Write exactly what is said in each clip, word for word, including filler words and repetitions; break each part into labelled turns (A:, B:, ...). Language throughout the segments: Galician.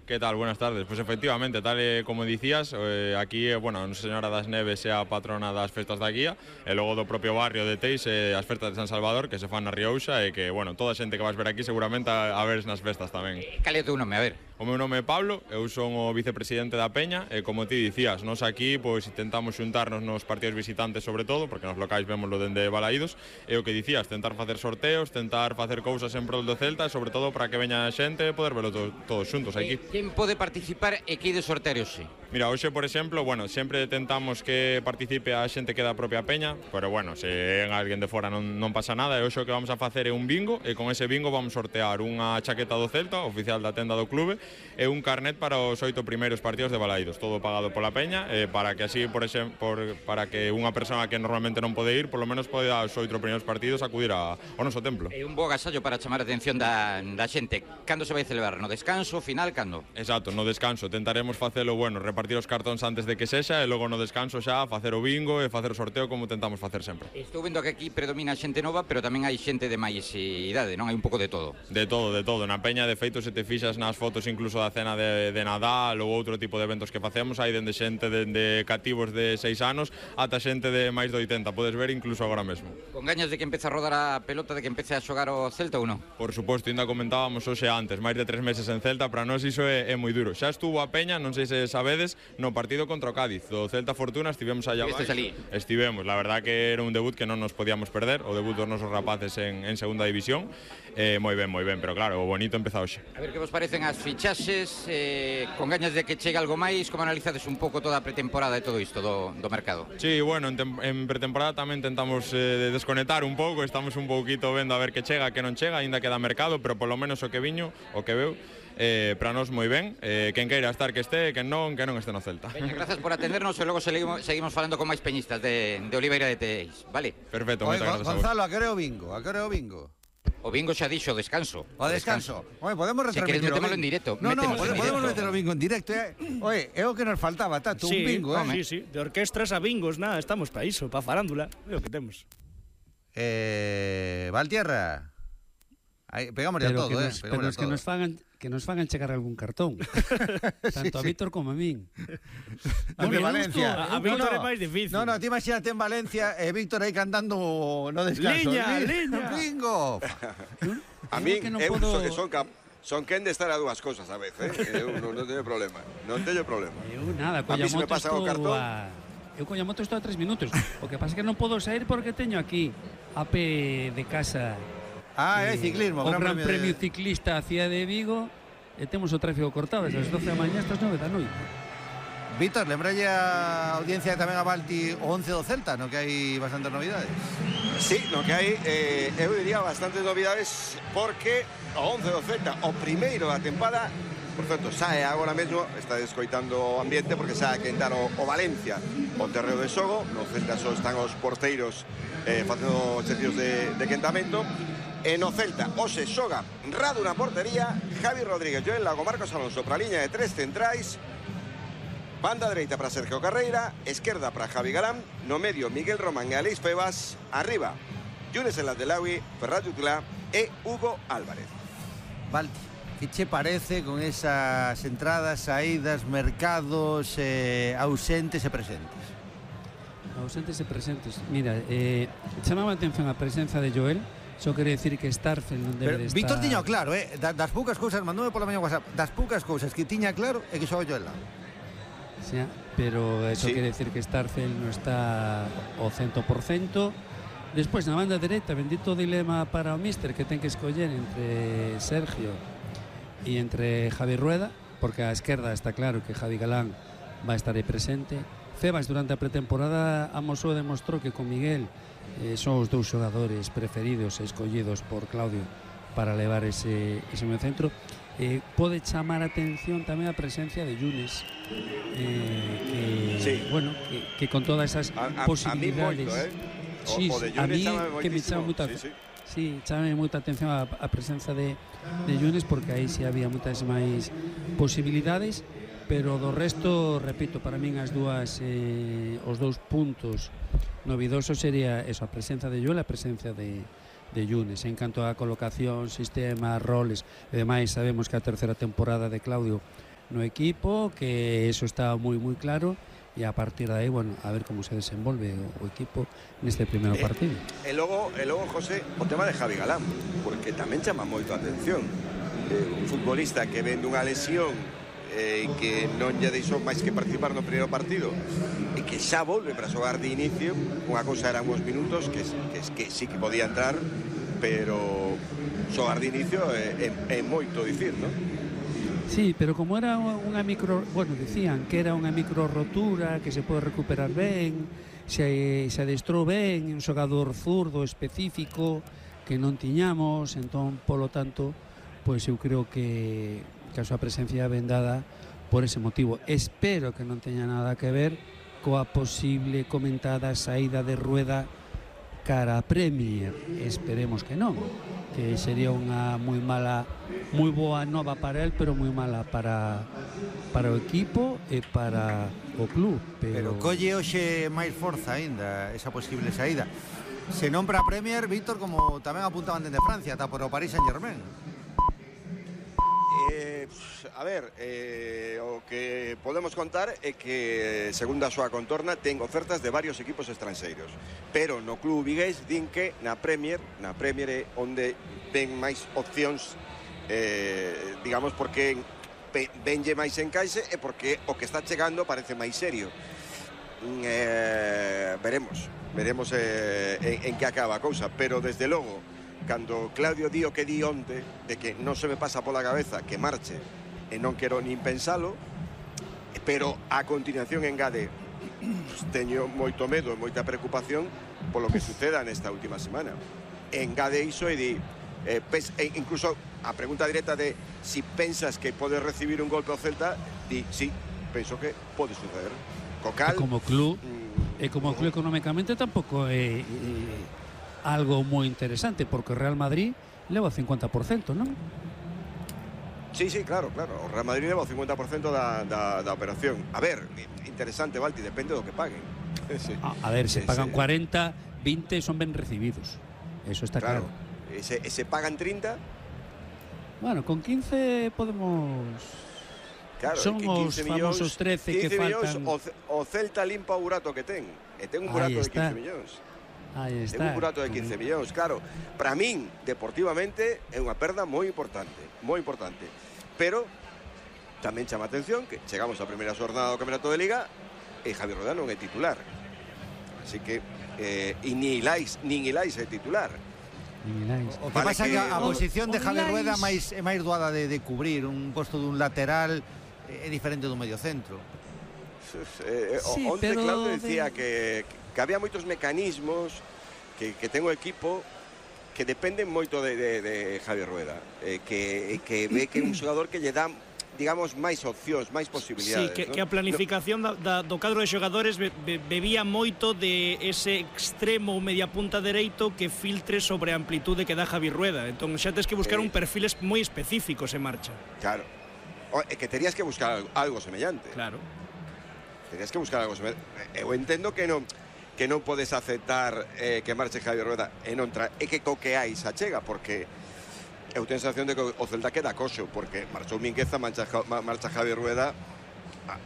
A: ¿Qué tal? Buenas tardes. Pues efectivamente, tal e como dicías, eh, aquí, eh, bueno, a Nosa Señora das Neves é a patrona das festas da guía, e logo do propio barrio de Teis eh, as festas de San Salvador, que se fan na Riouxa, e que, bueno, toda a xente que vas ver aquí seguramente a, a veres nas festas tamén.
B: Eh, cal é o teu nome, a ver?
A: O meu nome é Pablo, eu son o vicepresidente da Peña, e como ti dicías, nós aquí pois intentamos xuntarnos nos partidos visitantes sobre todo, porque nos locais vémoslo dende Balaídos, e o que dicías, tentar facer sorteos, tentar facer cousas en prol do Celta, e sobre todo para que veña a xente e poder velo to, todos xuntos aquí.
B: Eh, quen pode participar e que de sorteo hoxe?
A: Mira, hoxe, por exemplo, bueno, sempre tentamos que participe a xente que da propia Peña, pero bueno, se é alguén de fora non, non pasa nada, e hoxe o que vamos a facer é un bingo, e con ese bingo vamos sortear unha chaqueta do Celta, oficial da tenda do clube, e un carnet para os oito primeiros partidos de Balaídos, todo pagado pola Peña, e para que así, por exemplo, por, para que unha persona que normalmente non pode ir, por lo menos pode aos oito primeiros partidos acudir a, ao noso templo.
B: É un bo agasallo para chamar a atención da, da xente. Cando se vai celebrar? No descanso, final, cando?
A: Exacto, no descanso, tentaremos facelo, bueno, repartir os cartóns antes de que sexa, e logo no descanso xa facer o bingo e facer o sorteo como tentamos facer sempre.
B: Estou vendo que aquí predomina xente nova, pero tamén hai xente de máis idade, non? Hai un pouco de todo.
A: De todo, de todo. Na Peña, de feito, se te fixas nas fotos incluso da cena de, de Nadal ou outro tipo de eventos que facemos, hai dende xente dende cativos de seis anos ata xente de máis de oitenta, podes ver incluso agora mesmo.
B: Con gañas de que empece a rodar a pelota, de que empece a xogar o Celta ou non?
A: Por suposto, ainda comentábamos hoxe antes, máis de tres meses en Celta, para nós iso é, é moi duro. Xa estuvo a Peña, non sei se sabedes, no partido contra o Cádiz, do Celta Fortuna, estivemos allá
B: Estes ali?
A: Estivemos, la verdad que era un debut que non nos podíamos perder, o debut dos nosos rapaces en, en segunda división, eh, moi ben, moi ben, pero claro, o bonito empeza hoxe.
B: A ver que vos parecen as fichaxes, eh, con gañas de que chegue algo máis, como analizades un pouco toda a pretemporada e todo isto do, do mercado?
A: Sí, bueno, en, en pretemporada tamén tentamos eh, desconectar un pouco, estamos un pouquito vendo a ver que chega, que non chega, aínda queda mercado, pero polo menos o que viño, o que veu, eh, para nós moi ben, eh, quen queira estar que este, quen non, que non este no Celta.
B: Veña, grazas por atendernos e logo seguimos, seguimos falando con máis peñistas de, de Oliveira de Teis, vale?
A: Perfecto,
C: Oye,
A: moitas grazas a vos.
C: Gonzalo, a que hora é o bingo? A que hora é o bingo?
B: O bingo xa dixo, o descanso.
C: O descanso. Oye, podemos
B: Se queres
C: retransmitir o
B: metémolo
C: bingo?
B: en directo.
C: No, no,
B: métemos en
C: podemos
B: directo.
C: meter o bingo en directo. Eh? Oye, é o que nos faltaba, Tato,
D: Sí,
C: un bingo, eh?
D: sí, sí, de orquestras a bingos, nada, estamos para iso, para farándula, é o que temos.
C: Eh, Valtierra. Ahí, pegámosle a
E: Pero
C: todo,
E: que
C: eh?
E: nos, pero
C: Pegámosle
E: es
C: a
E: que
C: todo.
E: nos fagan que nos fagan chegar algún cartón. Tanto a
C: sí.
E: Víctor como a min.
C: A de
E: Bueno,
C: Valencia.
D: A- a Víctor é máis difícil.
C: No, no, ti imagínate en Valencia e eh, Víctor aí cantando no descanso.
D: Liña,
C: El
D: liña.
C: bingo.
F: A
E: Eu
F: min,
E: que non
F: eu
E: podo-
F: son, son, cap, son quen de estar a dúas cousas a vez, eh? Eu non, non teño problema, non teño problema.
E: Eu nada,
F: A mí
E: colla
F: se me
E: moto
F: pasa o
E: estou
F: cartón.
E: a... Eu colla moto estou a tres minutos. O que pasa é que non podo sair porque teño aquí a pé de casa
C: Ah, é
E: eh,
C: ciclismo,
E: o
C: Gran
E: Gran
C: Premio
E: Premio
C: de-
E: Ciclista a Cidade de Vigo e temos o tráfico cortado desde as doce da mañá hasta as nove da noite.
C: Víctor, lembralle a audiencia tamén a Balti o once do Celta, no que hai bastantes novidades.
F: Sí, no que hai, eh, eu diría bastantes novidades porque o once do Celta, o primeiro da tempada, por certo, sae agora mesmo, está descoitando o ambiente porque sae a quentar o, o Valencia o terreo de xogo, no Celta só están os porteiros eh, facendo exercicios de, de quentamento. E no Celta, hoxe xoga Radu na portería, Javi Rodríguez, Joel Lago, Marcos Alonso para a liña de tres centrais, banda dereita para Sergio Carreira, esquerda para Javi Galán, no medio Miguel Román e Aleix Febas, arriba Yunes El Adelawi, Ferrat Jutlá e Hugo Álvarez.
C: Balti, que che parece con esas entradas, saídas, mercados eh, ausentes e presentes?
E: Ausentes e presentes. Mira, eh, chamaba a atención a presenza de Joel. Só quere decir que Starfel non debe
C: Pero
E: de estar...
C: Víctor tiña claro, eh? Da- Das poucas cousas, mandoume pola mañá WhatsApp, das poucas cousas que tiña claro é que xoga yo el lado.
E: Sí, pero eso
F: Sí.
E: quere decir que Starfel non está ao cento por cento. Despois, na banda dereita, bendito dilema para o míster que ten que escoller entre Sergio e entre Javi Rueda, porque a esquerda está claro que Javi Galán vai estar aí presente. Febas durante a pretemporada amosou e demostrou que con Miguel eh, son os dous xogadores preferidos e escollidos por Claudio para levar ese, ese medio centro. Eh, pode chamar a atención tamén a presencia de Yunes, eh, que,
F: Sí.
E: bueno, que, que con todas esas
F: A, a, a mí
E: posibilidades
F: moito, eh? O,
E: sí,
F: o de
E: a
F: Yunes
E: mí
F: chámame
E: que me
F: moitísimo.
E: chama moita
F: Sí, sí.
E: sí, chame moita atención a, a presenza de, de Yunes, porque aí sí había moitas máis posibilidades, pero do resto, repito, para min as dúas eh, os dous puntos novidosos sería eso, a presenza de Joel e a presenza de, de Yunes. En canto a colocación, sistema, roles e demais, sabemos que a terceira temporada de Claudio no equipo, que eso está moi moi claro, e a partir de aí, bueno, a ver como se desenvolve o, o equipo neste primeiro partido.
F: E eh, logo, e logo, José, o tema de Javi Galán, porque tamén chama moito a atención. Eh, un futbolista que ven dunha lesión e eh, que non lle deixou máis que participar no primeiro partido e que xa volve para xogar de inicio. Unha cousa eran uns minutos que, que, que sí que podía entrar, pero xogar de inicio é, é, é moito dicir, non?
E: Sí, pero como era unha micro, bueno, dicían que era unha micro rotura, que se pode recuperar ben, se, se adestrou ben, un xogador zurdo específico que non tiñamos, entón, polo tanto, pois eu creo que, que a súa presencia ben dada por ese motivo. Espero que non teña nada que ver coa posible comentada saída de Rueda cara a Premier. Esperemos que non, que sería unha moi mala, moi boa nova para él, pero moi mala para para o equipo e para o club.
C: Pero, pero colle hoxe máis forza aínda esa posible saída. Se non para a Premier, Víctor, como tamén apuntaban dende Francia, ata por o Paris Saint-Germain.
F: Eh, a ver, eh, o que podemos contar é que, segundo a súa contorna, ten ofertas de varios equipos estranxeiros, pero no club vigués din que na Premier na Premier é onde ven máis opcións, eh, digamos, porque venlle máis encaixe e porque o que está chegando parece máis serio. eh, veremos veremos eh, en, en que acaba a cousa, pero desde logo, cando Claudio di o que di onte, de que non se me pasa pola cabeza que marche e non quero nin pensalo, pero a continuación engade, pues, teño moito medo e moita preocupación polo que suceda nesta última semana. Engade iso e di, eh, pes, e incluso a pregunta directa de si pensas que podes recibir un golpe ao Celta, di, sí, penso que pode suceder. Cocal,
E: e como club, mm, e como club económicamente tampouco é... é algo moi interesante, porque o Real Madrid leva o cincuenta por cento, non?
F: Sí, sí, claro, claro. O Real Madrid leva o cincuenta por cento da, da, da operación. A ver, interesante, Valti, depende do que paguen. Sí.
E: A, a ver, se
F: sí,
E: pagan
F: sí.
E: cuarenta, veinte son ben recibidos. Eso está claro.
F: claro. E se, e se pagan trinta?
E: Bueno, con quince podemos...
F: Claro,
E: son os famosos trece que faltan.
F: O, o Celta limpa o burato que ten. E ten un burato de quince millóns.
E: Aí está.
F: Ten un burato de quince millóns, claro. Para min, deportivamente, é unha perda moi importante, moi importante. Pero tamén chama atención que chegamos á primeira xornada do Campeonato de Liga e Javi Rueda non é titular. Así que eh, e ni Ilais, nin Ilais é titular.
C: O que vale pasa que, que a, a posición de Javi Rueda máis é máis doada de, de cubrir un posto dun lateral, é diferente dun medio centro.
F: Eh, sí, onde Claudio decía de... que, que había moitos mecanismos que, que ten o equipo que dependen moito de, de, de Javi Rueda, eh, que, que ve que é un xogador que lle dá, digamos, máis opcións, máis posibilidades.
D: Sí, que,
F: ¿no?
D: que a planificación no... da, da, do cadro de xogadores be, be, bebía moito de ese extremo media punta dereito que filtre sobre a amplitude que dá Javi Rueda. Entón xa tens que buscar eh... un perfil moi específico se marcha.
F: Claro, o, é que terías que buscar algo, algo semellante.
D: Claro.
F: Terías que buscar algo semellante. Eu entendo que non que non podes aceptar eh, que marche Javi Rueda e non tra... e que co que hai xa chega, porque eu tenho a sensación de que o Celta queda coxo, porque marchou Mingueza, marcha, marcha Javi Rueda,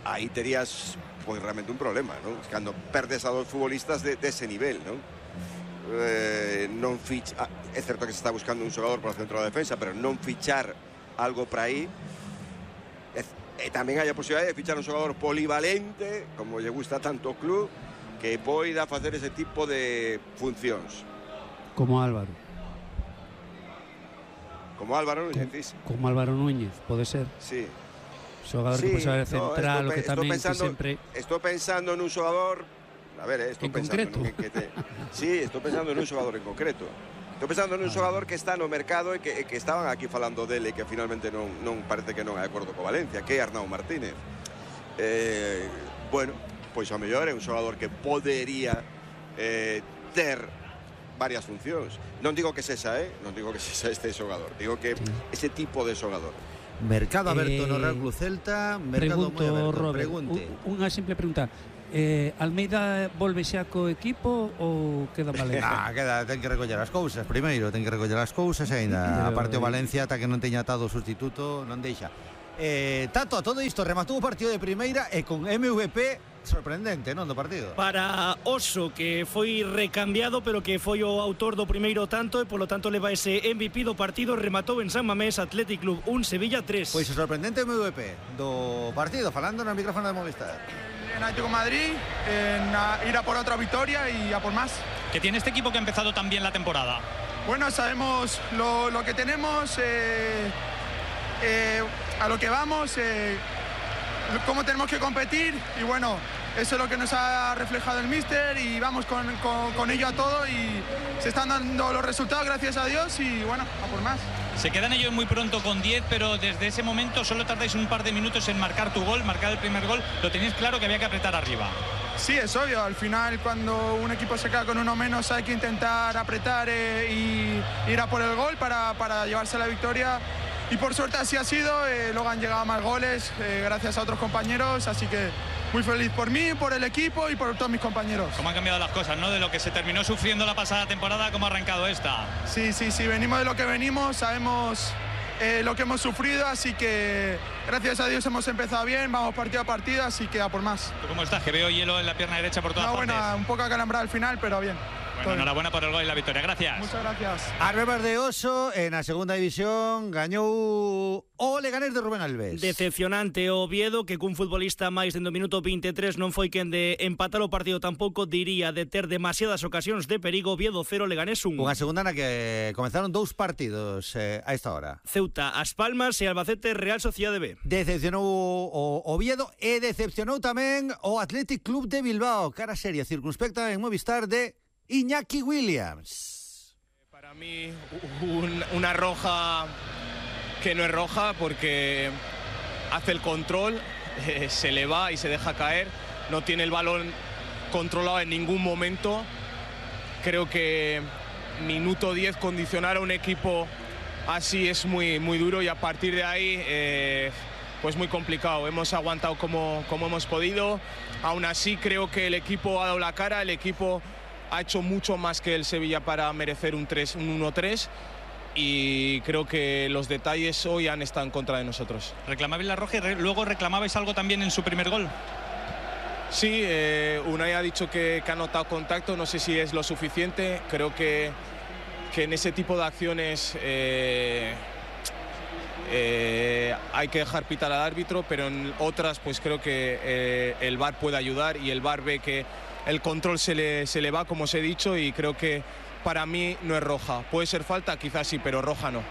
F: aí terías pois realmente un problema, non? Cando perdes a dos futbolistas de, de ese nivel, non? Eh, non fich... ah, é certo que se está buscando un xogador para o centro da defensa, pero non fichar algo para aí. E, e tamén hai a posibilidade de fichar un xogador polivalente, como lle gusta tanto o club, que poida facer ese tipo de funcións.
E: Como Álvaro.
F: Como Álvaro Núñez, dices?
E: Como Álvaro Núñez, pode ser.
F: Sí.
E: Xogador sí, que pode ser central, no, o que tamén
F: pensando,
E: sempre...
F: Estou pensando nun xogador... A ver, eh, estou
E: en
F: pensando...
E: concreto?
F: En que te... Sí, estou pensando nun xogador en concreto. Estou pensando nun xogador que está no mercado e que, que estaban aquí falando dele e que finalmente non, non parece que non é de acordo co Valencia, que é Arnau Martínez. Eh, bueno... pois ao mellor é un xogador que podería eh, ter varias funcións. Non digo que sexa, eh? Non digo que sexa este xogador, digo que ese tipo de xogador.
C: Mercado aberto
E: eh,
C: no Real Club Celta, mercado moi aberto.
E: Robert,
C: pregunte.
E: Unha simple pregunta. Eh, Almeida volve xa co equipo ou queda Valencia?
C: Ah, queda, ten que recoller as cousas primeiro, ten que recoller as cousas e ainda, a parte o Valencia ata que non teña atado o sustituto non deixa. Eh, Tato, a todo isto rematou o partido de primeira e con M V P sorprendente, non, do partido.
D: Para Oso, que foi recambiado, pero que foi o autor do primeiro tanto e polo tanto leva ese M V P do partido. Rematou en San Mamés, Athletic Club un, Sevilla tres.
C: Pois o sorprendente M V P do partido, falando no micrófono de Movistar.
G: En Atlético de Madrid, en a, ir a por otra victoria y a por más.
H: Que tiene este equipo que ha empezado tan bien la temporada.
G: Bueno, sabemos lo, lo que tenemos, eh, eh, a lo que vamos, eh, cómo tenemos que competir y bueno, eso es lo que nos ha reflejado el míster y vamos con, con, con ello a todo y se están dando los resultados, gracias a Dios, y bueno, a por más.
H: Se quedan ellos muy pronto con diez, pero desde ese momento solo tardáis un par de minutos en marcar tu gol, marcar el primer gol. Lo tenéis claro que había que apretar arriba.
G: Sí, es obvio. Al final, cuando un equipo se queda con uno menos, hay que intentar apretar eh, y ir a por el gol para, para llevarse la victoria. Y por suerte así ha sido. Eh, luego han llegado más goles eh, gracias a otros compañeros. Así que muy feliz por mí, por el equipo y por todos mis compañeros.
H: ¿Cómo han cambiado las cosas, no? De lo que se terminó sufriendo la pasada temporada, ¿cómo ha arrancado esta?
G: Sí, sí, sí. Venimos de lo que venimos. Sabemos eh, lo que hemos sufrido. Así que gracias a Dios hemos empezado bien. Vamos partido a partido. Así que a por más.
H: ¿Tú cómo estás? Que veo hielo en la pierna derecha por todas
G: no,
H: partes.
G: Bueno, un poco acalambrada al final, pero bien.
H: Bueno, enhorabuena por el gol y la victoria. Gracias.
G: Muchas gracias.
C: Arbebas de Oso, en a segunda división, gañou o Leganés de Rubén Alves.
D: Decepcionante o Oviedo, que cun futbolista máis dentro do minuto veintitrés non foi quen de empatar o partido tampouco, diría de ter demasiadas ocasións de perigo. Oviedo cero, Leganés un.
C: Unha segunda na que comenzaron dous partidos eh, a esta hora.
D: Ceuta, As Palmas e Albacete, Real Sociedade B.
C: Decepcionou o Oviedo e decepcionou tamén o Athletic Club de Bilbao. Cara seria, circunspecta en Movistar de Iñaki Williams.
I: Para mí un, una roja que no es roja porque hace el control, eh, se le va y se deja caer, no tiene el balón controlado en ningún momento. Creo que minuto diez condicionar a un equipo así es muy, muy duro y a partir de ahí eh, pues muy complicado. Hemos aguantado como, como hemos podido, aún así creo que el equipo ha dado la cara, el equipo ha hecho mucho más que el Sevilla para merecer un, un uno tres y creo que los detalles hoy han estado en contra de nosotros.
H: ¿Reclamabais la roja y re luego reclamabais algo también en su primer gol?
I: Sí, eh, Unai ha dicho que, que ha notado contacto, no sé si es lo suficiente, creo que, que en ese tipo de acciones eh, eh, hay que dejar pitar al árbitro, pero en otras pues creo que eh, el V A R puede ayudar y el V A R ve que el control se le, se le va, como os he dicho, y creo que para mí no es roja. Puede ser falta, quizás sí, pero roja no.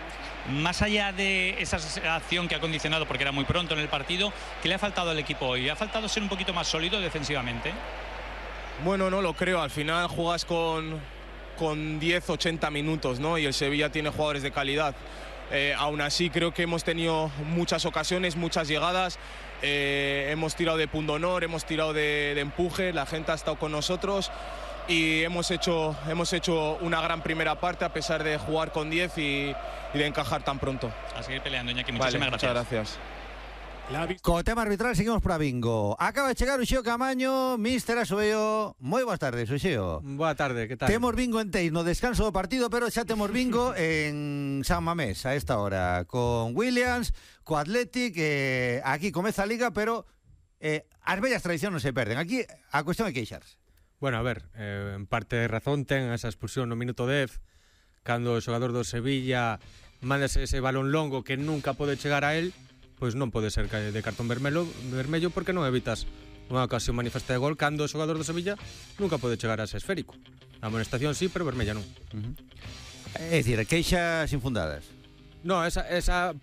H: Más allá de esa acción que ha condicionado, porque era muy pronto en el partido, ¿qué le ha faltado al equipo hoy? ¿Ha faltado ser un poquito más sólido defensivamente?
I: Bueno, no lo creo. Al final juegas con, con diez, ochenta minutos, ¿no? Y el Sevilla tiene jugadores de calidad. Eh, aún así creo que hemos tenido muchas ocasiones, muchas llegadas. Eh, hemos tirado de pundonor, hemos tirado de, de empuje, la gente ha estado con nosotros y hemos hecho, hemos hecho una gran primera parte a pesar de jugar con diez y, y de encajar tan pronto.
H: A seguir peleando, Iñaki, muchísimas
I: vale,
H: gracias.
I: Muchas gracias.
C: Co tema arbitral seguimos para bingo. Acaba de chegar Uxío Camaño, míster Asobeo. Moi boas tardes, Uxío.
J: Boa tarde, que tal?
C: Temos bingo en Teis no descanso do partido, pero xa temos bingo en San Mamés a esta hora, con Williams, co Athletic, eh, aquí comeza a liga, pero eh, as bellas tradicións non se perden. Aquí a cuestión é queixarse.
J: Bueno, a ver, eh, en parte de razón ten esa expulsión no minuto dez, cando o xogador do Sevilla mándase ese balón longo que nunca pode chegar a él, pois non pode ser de cartón vermelho, vermello porque non evitas unha ocasión manifesta de gol cando o xogador do Sevilla nunca pode chegar a ese esférico. A amonestación sí, pero vermella non.
C: Uh-huh. É dicir, queixas infundadas.
J: No, esa, esa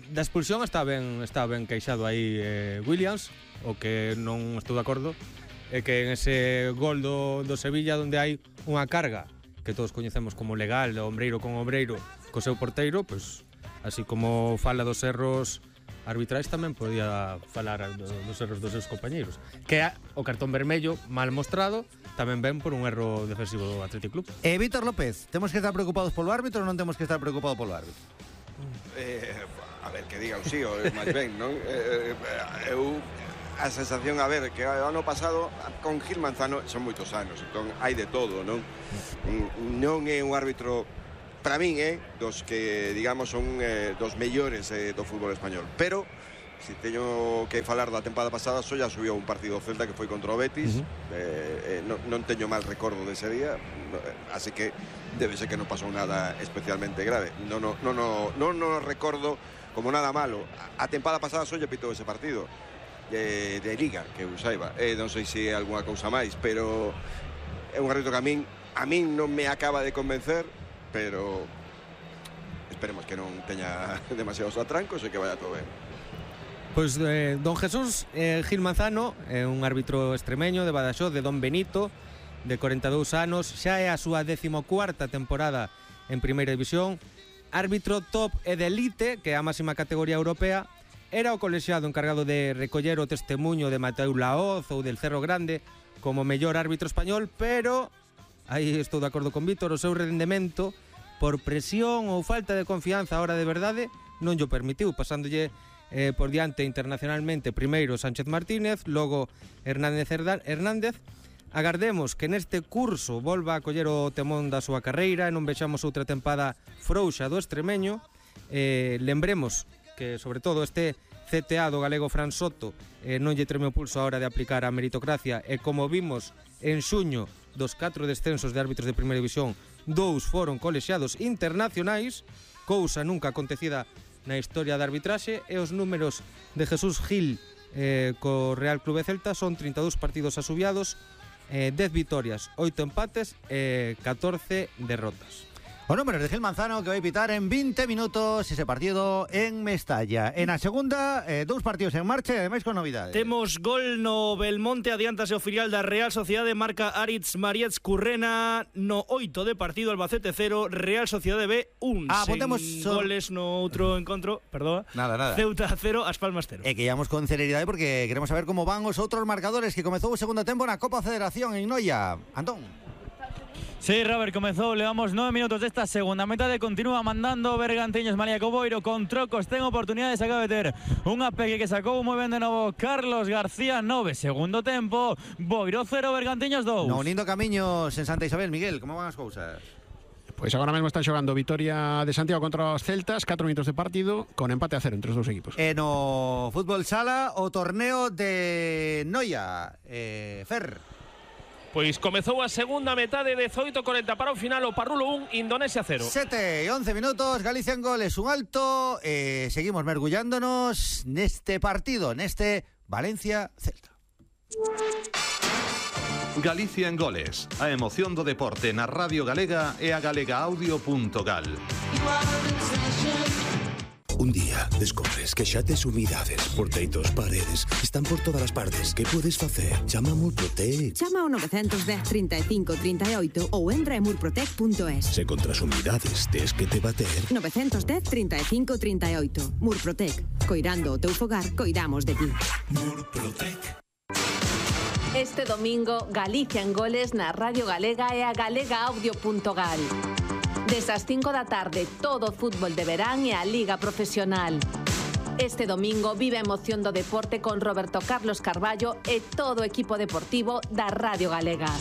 J: da expulsión está ben, está ben queixado aí eh, Williams, o que non estou de acordo é que en ese gol do, do Sevilla onde hai unha carga que todos coñecemos como legal, de ombreiro con ombreiro co seu porteiro, pois así como fala dos erros arbitrais tamén podía falar dos erros dos seus compañeiros, que o cartón vermello mal mostrado tamén ven por un erro defensivo do Athletic Club.
C: Eh, Víctor López, temos que estar preocupados polo árbitro ou non temos que estar preocupados polo árbitro?
F: Eh, a ver, que diga o sí, o máis ben, non? Eh, eu a sensación, a ver, que o ano pasado con Gil Manzano son moitos anos, entón hai de todo, non? Non é un árbitro para min, eh, dos que, digamos, son eh, dos mellores eh, do fútbol español, pero se teño que falar da tempada pasada, só ya subiu un partido do Celta que foi contra o Betis. Uh -huh. eh, eh, non, non teño mal recordo dese día, así que debe ser que non pasou nada especialmente grave. Non no, no, no, no, no recordo como nada malo. A tempada pasada só lle pitou ese partido de, de Liga, que eu saiba. Eh, non sei se é algunha cousa máis, pero é un árbitro que a min, a min non me acaba de convencer, pero esperemos que non teña demasiados atrancos e que vaya todo ben.
J: Pois eh, don Jesús eh, Gil Manzano é un árbitro extremeño de Badaxoz, de Don Benito, de corenta e dous anos, xa é a súa decimocuarta temporada en Primeira División, árbitro top e de elite, que é a máxima categoría europea. Era o colexiado encargado de recoller o testemunho de Mateu Laoz ou del Cerro Grande como mellor árbitro español, pero aí estou de acordo con Víctor, o seu rendemento por presión ou falta de confianza a hora de verdade non llo permitiu, pasándolle Eh, por diante internacionalmente primeiro Sánchez Martínez, logo Hernández Hernández. Agardemos que neste curso volva a coller o temón da súa carreira e non vexamos outra tempada frouxa do extremeño. Eh, lembremos que, sobre todo, este C T A do galego Fran Soto eh, non lle treme o pulso a hora de aplicar a meritocracia, e como vimos en xuño dos catro descensos de árbitros de Primeira División, dous foron colexiados internacionais, cousa nunca acontecida na historia da arbitraxe, e os números de Jesús Gil eh, co Real Clube Celta son trinta e dous partidos asubiados, eh, dez vitorias, oito empates e catorce derrotas.
C: Os números de Gil Manzano, que vai pitar en vinte minutos ese partido en Mestalla. En a segunda, eh, dous partidos en marcha e ademais con novidades.
D: Temos gol no Belmonte, adiántase o filial da Real Sociedade, marca Aritz Marietz Currena no oito de partido, Albacete cero, Real Sociedade B un.
C: Ah, potemos so...
D: goles no outro encontro, perdón.
C: Nada, nada.
D: Ceuta cero, As Palmas cero.
C: E que íamos con celeridade porque queremos saber como van os outros marcadores, que comezou o segundo tempo na Copa Federación en Noia. Antón.
K: Sí, Robert, comezou, levamos nove minutos desta segunda metade, continúa mandando Bergantiños, María Coboiro con trocos, ten oportunidades, acaba de ter unha peque que sacou moi ben de novo Carlos García, nove, segundo tempo, Boiro cero, Bergantiños dous.
C: No unindo camiños en Santa Isabel, Miguel, como van as cousas?
L: Pois agora mesmo están xogando Vitoria de Santiago contra os Celtas, catro minutos de partido, con empate a cero entre os dous equipos.
C: E no fútbol sala, o torneo de Noia, eh, Fer.
M: Pois comezou a segunda metade, dezoito corenta para o final, o Parrulo un, Indonesia cero.
C: sete e once minutos, Galicia en goles un alto, eh, seguimos mergullándonos neste partido, neste Valencia-Celta.
N: Galicia en goles, a emoción do deporte na Radio Galega e a galegaaudio punto gal.
O: Un día descubres que xa tes humidades por teitos, paredes, están por todas as partes. Que podes facer? Chama a Murprotec.
P: Chama ao nove un cero, trinta e cinco, trinta e oito ou entra en murprotec punto es.
O: Se contra as humidades tes que te bater.
P: nove un cero, trinta e cinco, trinta e oito. Murprotec. Coirando o teu fogar, coidamos de ti.
O: Murprotec.
Q: Este domingo, Galicia en goles na Radio Galega e a galegaaudio punto gal. Desas cinco da tarde, todo o fútbol de verán e a Liga Profesional. Este domingo vive a emoción do deporte con Roberto Carlos Carballo e todo o equipo deportivo da Radio Galega.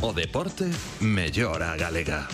N: O deporte mellora a galega.